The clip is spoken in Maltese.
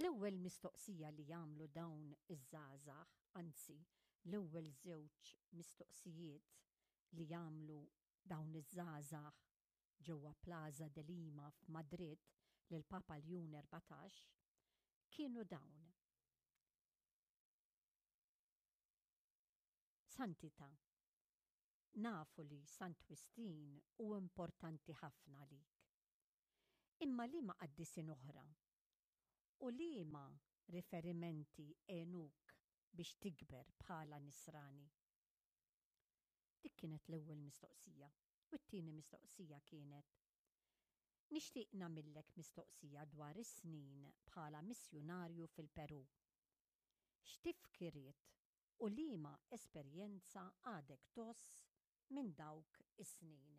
L-ewwel mistoqsija li jagħmlu dawn iż-żgħażagħ, anzi l-ewwel żewġ mistoqsijiet li jagħmlu dawn iż-żgħażagħ ġewwa Plaza de Lima f'Madrid lil Papa Ljun 14 kienu dawn. Santità, nafu li Sant Wistin hu importanti ħafna għalik. Imma liema qaddisin oħra u liema riferimenti għenuk biex tikber bħala Nisrani? Dik kienet l-ewwel mistoqsija. U t-tieni mistoqsija kienet, Nixtieq nagħmillek mistoqsija dwar is-snin bħala missjunarju fil-Perù. X'tifkiriet u liema esperjenza għadek tgħożż minn dawk is-snin?